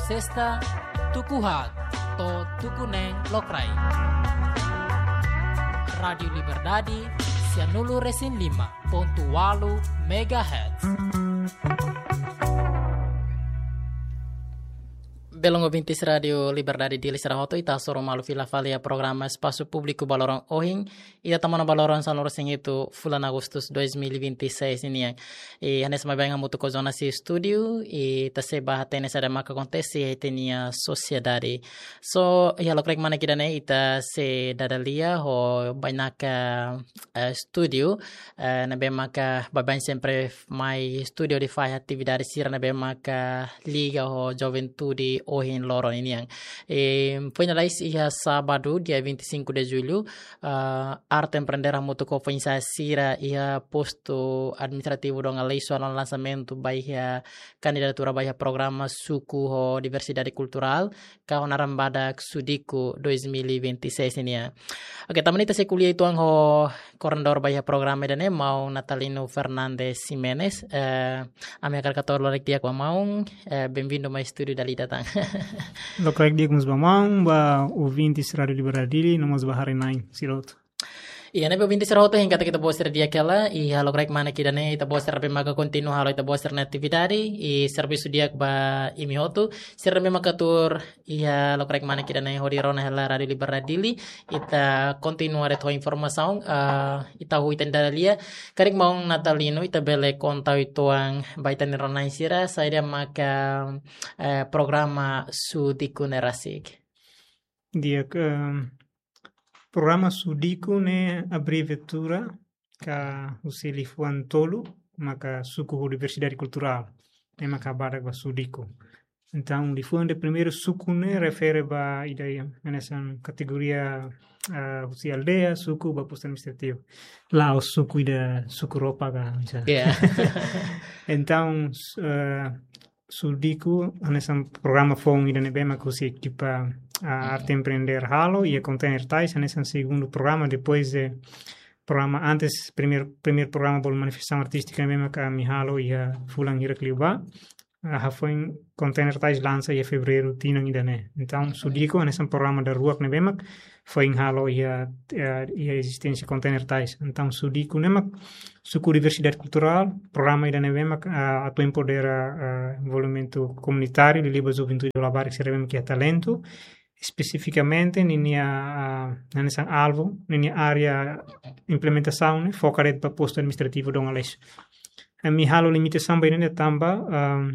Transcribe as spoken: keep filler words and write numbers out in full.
Sesta, tuku haat to'o tuku neen lokraik. Rádiu Liberdade, sianulu resin lima pontu walu megahertz. Belun ouvintes Rádiu Liberdade Dili sira hotu, ita hasoru malu fila fali iha programa Espasu Públiku ba loron ohin, ida tama ona ba loron sanulu-resin-hitu fulan Agustus dois mil e vinte e seis nian. I hanesan maibé hamutuk ho Jonas iha estúdiu, i ita sei bá hatene saida maka akontese iha ita-nia sosiedade. So, iha lokraik manek ida-ne'e ita sei dada lia ho bainaka, eh, estúdiu, eh, ne'ebé maka baibain sempre mai estúdiu hodi fahe atividade sira ne'ebé maka liga ho juventude ohin loron nian. E, foin lalais iha sábadu, dia vinte e cinco de julho, ah, Arte Empreender hamutuk ho foin-sa'e sira iha postu administrativu Dom Aleixo halo lansamentu ba iha kandidatura ba iha programa suku ho diversidade kulturál, ka ho naran badak SUDICU dois mil e vinte e seis nian. Oke, tanba ne'e ita sei ko'alia uitoan ho koordenadór ba iha programa ida-ne'e, maun Natalino Fernandes Ximenes. Eh, ami hakarak hato'o lokraik di'ak ba maun, eh, bem-vindo mai estúdiu dala ida tan. Lokraik di'ak mós ba maun, ba ouvintes Rádiu Liberdade Dili, no mós ba haree-na'in sira hotu. Iha ne'ebé ouvintes sira hotu, hein katak ita-boot sira di'ak hela, iha lokraik manek ida-ne'e ita-boot sira ne'ebé maka kontinua halo ita-boot sira-nia atividade, i servisu di'ak ba imi hotu, sira ne'ebé maka tuur iha lokraik manek ida-ne'e hodi rona hela Rádiu Liberdade Dili, ita kontinua de'it ho informasaun, ah, ita hahú ita-nia dada lia, karik maun Natalino, ita bele konta uitoan ba ita-nia rona-na'in sira, saida maka, eh, programa SUDICU ne'e rasik. Di'ak, ehm, programa SUDICU ne'e abreviatura ka husi liafuan tolu, maka suku ho diversidade kulturál, ne'e maka badak ba SUDICU. Entaun, liafuan ida primeiru suku ne'e refere ba ida hanesan kategoria, ah, husi aldeia, suku, ba postu administrativu. La'ós suku ida suku roupa ka, misal. Ya. Entaun, s-, eh, SUDICU, hanesan programa foun ida ne'ebé maka husi ekipa, ah, Arte Empreender halo, iha Container Tais, hanesan segundu programa, depois de programa antes, primeiru, primeiru programa bolu manifestasaun artístika ne'ebé maka ami halo iha fulan hirak liubá. Ah, hafoin Container Tais lansa iha fevereiru tinan ida-ne'e. Entaun, SUDICU, hanesan programa daruak ne'ebé mak foin halo iha, eh, iha ezisténsia Container Tais. Entaun, SUDICU ne'e mak suku diversidade kulturál, programa ida ne'ebé mak, ah, atu empodera, ah, envolvimentu komunitáriu, liuliu ba juventude labarik sira ne'ebé mak iha talentu, espesifikamente ninia, ah, hanesan alvu, ninia área implementasaun ne'e foka de'it ba postu administrativu Dom Aleixo. Ami halo limitasaun ba ida-ne'e tanba, ah,